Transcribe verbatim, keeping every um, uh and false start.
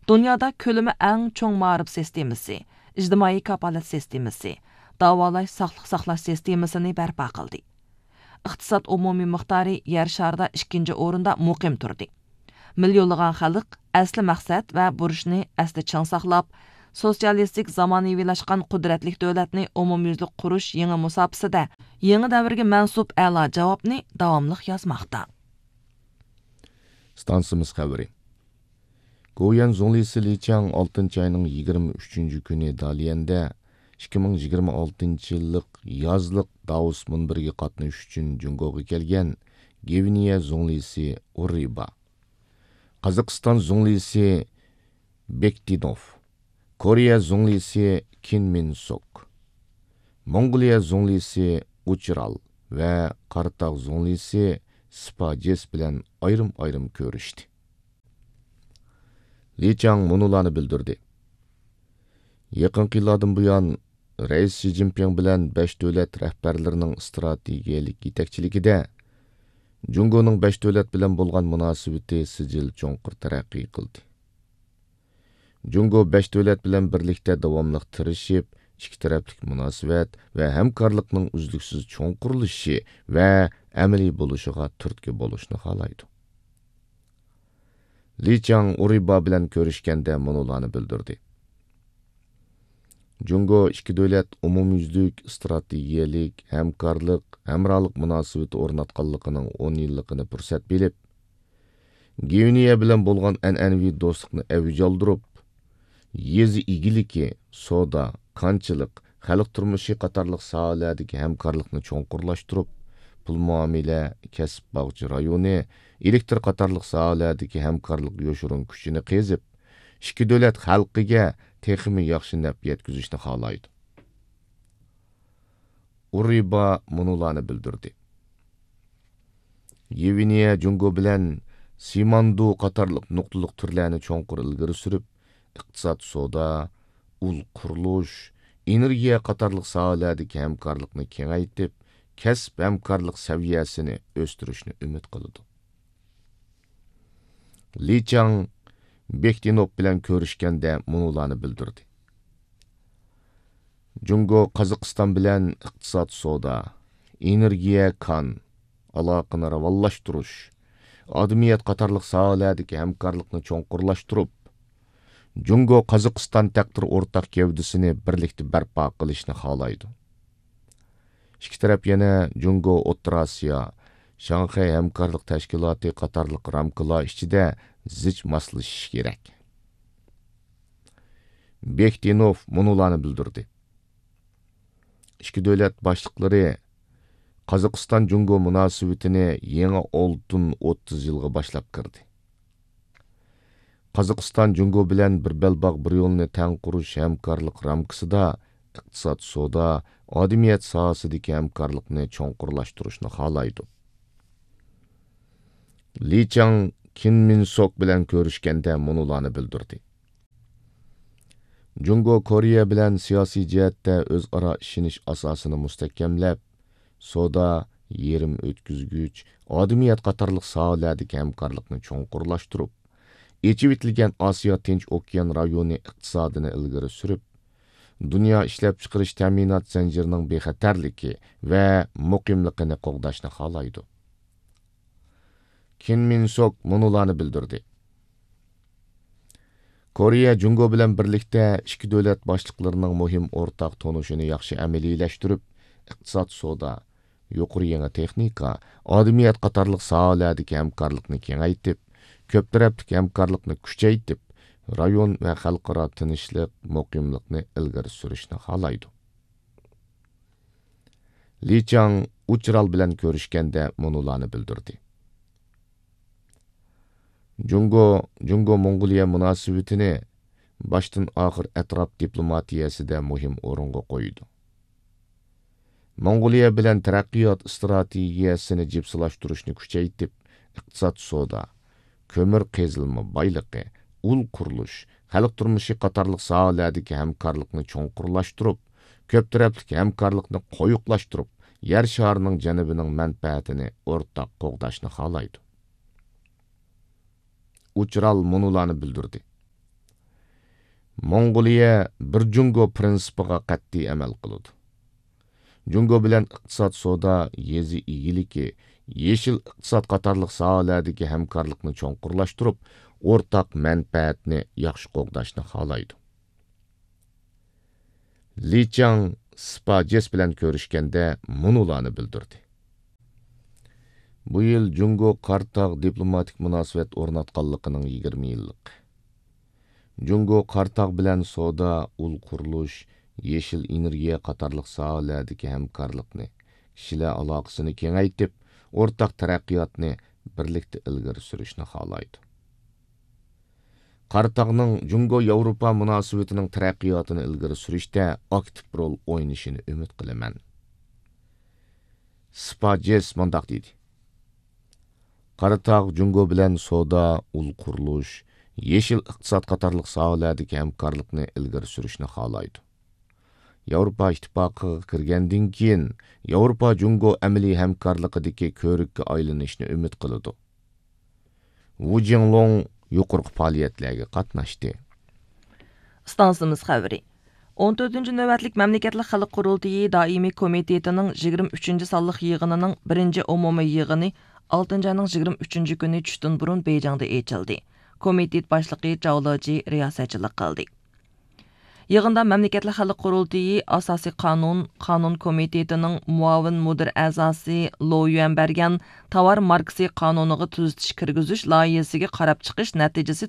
دۇنيادا كۆلىمى ئەڭ چوڭ مائارىپ سىستېمىسى، ئىجتىمائىي كاپالەت سىستېمىسى، داۋالاش، ساقلىق ساقلاش سىستېمىسىنى بەرپا قىلدى. ئىقتىساد ئومۇمىي مىقدارى يەر شارىدا ئىككىنچى ئورۇندا مۇقىم تۇردى. مىليونلىغان خەلق ئەسلى مەقسەت ۋە بۇرچنى ئەستە چىڭ ساقلاپ، سوتسىيالىستىك زامانىۋىلاشقان قۇدرەتلىك دۆلەتنى ئومۇميۈزلۈك قۇرۇش يېڭى مۇساپىسىدە يېڭى دەۋرگە مەنسۇپ ئەلا جاۋابنى داۋاملىق يازماقتا. ئىستانسىمىز خەۋىرى. گوۋۇيۈەن زۇڭلىسى لى چاڭ ئالتىنچى ئاينىڭ يىگىرمە ئۈچىنچى كۈنى داليەندە ئىككى مىڭ يىگىرمە ئالتىنچى يىللىق يازلىق داۋوس مۇنبىرىگە قاتنىشىش ئۈچۈن جۇڭگوغا كەلگەن گۋىنېيە زۇڭلىسى ئۇرىبا، قازاقىستان زۇڭلىسى بېكتىنوف، كورېيە زۇڭلىسى كىن مىن سوك، موڭغۇلىيە زۇڭلىسى ئۇچرال ۋە قاراتاغ زۇڭلىسى سپاجېس بىلەن ئايرىم-ئايرىم كۆرۈشتى. لى چاڭ مۇنۇلارنى بىلدۈردى: يېقىنقى يىللاردىن بۇيان، رەئىس شى جىنپىڭ بىلەن بەش دۆلەت رەھبەرلىرىنىڭ ئىستراتېگىيەلىك يېتەكچىلىكىدە، جۇڭگونىڭ بەش دۆلەت بىلەن بولغان مۇناسىۋىتى سىجىل چوڭقۇر تەرەققىي قىلدى. جۇڭگو بەش دۆلەت بىلەن بىرلىكتە داۋاملىق تىرىشىپ، ئىككى تەرەپلىك مۇناسىۋەت ۋە ھەمكارلىقنىڭ ئۈزلۈكسىز چوڭقۇرلىشىشى ۋە ئەمەلىي بولۇشىغا تۈرتكە بولۇشنى خالايدۇ. لى چاڭ ئۇرىبا بىلەن كۆرۈشكەندە مۇنۇلارنى بىلدۈردى: جۇڭگو ئىككى دۆلەت ئومۇميۈزلۈك ئىستراتېگىيەلىك ھەمكارلىق، ھەمراھلىق مۇناسىۋىتى ئورناتقانلىقىنىڭ ئون يىللىقىنى پۇرسەت بىلىپ، گۋىنېيە بىلەن بولغان ئەنئەنىۋى دوستلۇقنى ئەۋج ئالدۇرۇپ، يېزا ئىگىلىكى، سودا، كانچىلىق، خەلق تۇرمۇشى قاتارلىق ساھەلەردىكى ھەمكارلىقنى چوڭقۇرلاشتۇرۇپ، پۇل مۇئامىلە، كەسىپ باغچە رايونى، ئېلېكتر قاتارلىق ساھەلەردىكى ھەمكارلىق يوشۇرۇن كۈچىنى قېزىپ، ئىككى دۆلەت خەلقىگە تېخىمۇ ياخشى نەپ يەتكۈزۈشنى خالايدۇ. ئۇرىبا مۇنۇلارنى بىلدۈردى: گۋىنېيە جۇڭگو بىلەن سىماندۇ قاتارلىق نۇقتىلىق تۈرلەرنى چوڭقۇر ئىلگىرى سۈرۈپ، ئىقتىساد، سودا، ئۇل قۇرۇلۇش، ئېنېرگىيە قاتارلىق ساھەلەردىكى ھەمكارلىقنى كېڭەيتىپ، كەسىپ ھەمكارلىق سەۋىيەسىنى ئۆستۈرۈشنى ئۈمىد قىلىدۇ. لى چاڭ بېكتىنوف بىلەن كۆرۈشكەندە مۇنۇلارنى بىلدۈردى: جۇڭگو قازاقىستان بىلەن ئىقتىساد، سودا، ئېنېرگىيە، كان، ئالاقىنى راۋانلاشتۇرۇش، ئادىمىيەت قاتارلىق ساھەلەردىكى ھەمكارلىقنى چوڭقۇرلاشتۇرۇپ، جۇڭگو قازاقىستان تەقدىر ئورتاق گەۋدىسىنى بىرلىكتە بەرپا قىلىشنى خالايدۇ. ئىككى تەرەپ يەنە جۇڭگو ئوتتۇرا ئاسىيا، شاڭخەي ھەمكارلىق تەشكىلاتى قاتارلىق رامكىلار ئىچىدە زىچ ماسلىشىشى كېرەك. بېكتىنوف مۇنۇلارنى بىلدۈردى: ئىككى دۆلەت باشلىقلىرى قازاقىستان جۇڭگو مۇناسىۋىتىنى يېڭى ئالتۇن ئوتتۇز يىلغا باشلاپ كىردى. قازاقىستان جۇڭگو بىلەن بىر بەلباغ، بىر يولنى تەڭ قۇرۇش ھەمكارلىق رامكىسىدا ئىقتىساد، سودا، ئادىمىيەت ساھەسىدىكى ھەمكارلىقنى چوڭقۇرلاشتۇرۇشنى خالايدۇ. لى چاڭ كىن مىن سوك بىلەن كۆرۈشكەندە مۇنۇلارنى بىلدۈردى: جۇڭگو كورېيە بىلەن سىياسىي جەھەتتە ئۆزئارا ئىشىنىش ئاساسىنى مۇستەھكەملەپ، سودا، يېرىم ئۆتكۈزگۈچ، ئادىمىيەت قاتارلىق ساھەلەردىكى ھەمكارلىقنى چوڭقۇرلاشتۇرۇپ، ئېچىۋېتىلگەن ئاسىيا تىنچ ئوكيان رايونى ئىقتىسادىنى ئىلگىرى سۈرۈپ، دۇنيا ئىشلەپچىقىرىش تەمىنات زەنجىرىنىڭ بىخەتەرلىكى ۋە مۇقىملىقىنى قوغداشنى خالايدۇ. كىن مىن سوك مۇنۇلارنى بىلدۈردى: كورېيە جۇڭگو بىلەن بىرلىكتە ئىككى دۆلەت باشلىقلىرىنىڭ مۇھىم ئورتاق تونۇشىنى ياخشى ئەمەلىيلەشتۈرۈپ، ئىقتىساد، سودا، يۇقىرى يېڭى تېخنىكا، ئادىمىيەت قاتارلىق ساھەلەردىكى ھەمكارلىقنى كېڭەيتىپ، كۆپ تەرەپلىك ھەمكارلىقنى كۈچەيتىپ، رايون ۋە خەلقئارا تىنچلىق، مۇقىملىقنى ئىلگىرى سۈرۈشنى خالايدۇ. لى چاڭ ئۇچرال بىلەن كۆرۈشكەندە مۇنۇلارنى بىلدۈردى: جۇڭگو، جۇڭگو موڭغۇلىيە مۇناسىۋىتىنى باشتىن ئاخىر ئەتراپ دىپلوماتىيەسىدە مۇھىم ئورۇنغا قويىدۇ. موڭغۇلىيە بىلەن تەرەققىيات ئىستراتېگىيەسىنى جىپسىلاشتۇرۇشنى كۈچەيتىپ، ئىقتىساد، سودا، كۆمۈر قېزىلما بايلىقى، ئۇل قۇرۇلۇش، خەلق تۇرمۇشى قاتارلىق ساھەلەردىكى ھەمكارلىقنى چوڭقۇرلاشتۇرۇپ، كۆپ تەرەپلىك ھەمكارلىقنى قويۇقلاشتۇرۇپ، يەر شارىنىڭ جەنۇبىنىڭ مەنپەئەتىنى ئورتاق قوغداشنى خالايدۇ. ئۇچرال مۇنۇلارنى بىلدۈردى: موڭغۇلىيە بىر جۇڭگو پىرىنسىپىغا قەتئىي ئەمەل قىلىدۇ. جۇڭگو بىلەن ئىقتىساد، سودا، يېزا ئىگىلىكى، يېشىل ئىقتىساد قاتارلىق ساھەلەردىكى ھەمكارلىقنى چوڭقۇرلاشتۇرۇپ، ئورتاق مەنپەئەتنى ياخشى قوغداشنى خالايدۇ. لى چاڭ سپا جېس بىلەن كۆرۈشكەندە مۇنۇلارنى بىلدۈردى. بۇ يىل جۇڭگو قاراتاغ دىپلوماتىك مۇناسىۋەت ئورناتقانلىقىنىڭ يىگىرمە يىللىقى. جۇڭگو قاراتاغ بىلەن سودا، ئۇل قۇرۇلۇش، يېشىل ئېنېرگىيە قاتارلىق ساھەلەردىكى ھەمكارلىقنى، كىشىلەر ئالاقىسىنى كېڭەيتىپ، ئورتاق تەرەققىياتنى بىرلىكتە ئىلگىرى سۈرۈشنى خالايدۇ. قاراتاغنىڭ جۇڭگو ياۋروپا مۇناسىۋىتىنىڭ تەرەققىياتىنى ئىلگىرى سۈرۈشتە ئاكتىپ رول ئوينىشىنى ئۈمىد قىلىمەن. سپا جېس مۇنداق دېدى: قاراتاغ جۇڭگو بىلەن سودا، ئۇل قۇرۇلۇش، يېشىل ئىقتىساد قاتارلىق ساھەلەردىكى ھەمكارلىقنى ئىلگىرى سۈرۈشنى خالايدۇ. ياۋروپا ئىتتىپاقىغا كىرگەندىن كېيىن، ياۋروپا جۇڭگو ئەمەلىي ھەمكارلىقىدىكى كۆۋرۈككە ئايلىنىشنى ئۈمىد قىلىدۇ. ۋۇ جىڭلۇڭ يۇقىرىقى پائالىيەتلەرگە قاتناشتى. ئىستانسىمىز خەۋىرى. ئون تۆتىنچى نۆۋەتلىك مەملىكەتلىك خەلق قۇرۇلتىيى دائىمىي كومىتېتىنىڭ يىگىرمە ئۈچىنچى سانلىق يىغىنىنىڭ بىرىنچى ئومۇمىي يىغىنى ئالتىنچى ئاينىڭ يىگىرمە ئۈچىنچى كۈنى چۈشتىن بۇرۇن بېيجىڭدا ئېچىلدى. كومىتېت باشلىقى جاۋ لېجى رىياسەتچىلىك قىلدى. يىغىندا مەملىكەتلىك خەلق قۇرۇلتىيى ئاساسىي قانۇن، قانۇن كومىتېتىنىڭ مۇئاۋىن مۇدىر ئەزاسى لو يۈەن بەرگەن تاۋار ماركىسى قانۇنىغا تۈزىتىش كىرگۈزۈش لايىھىسىگە قاراپ چىقىش نەتىجىسى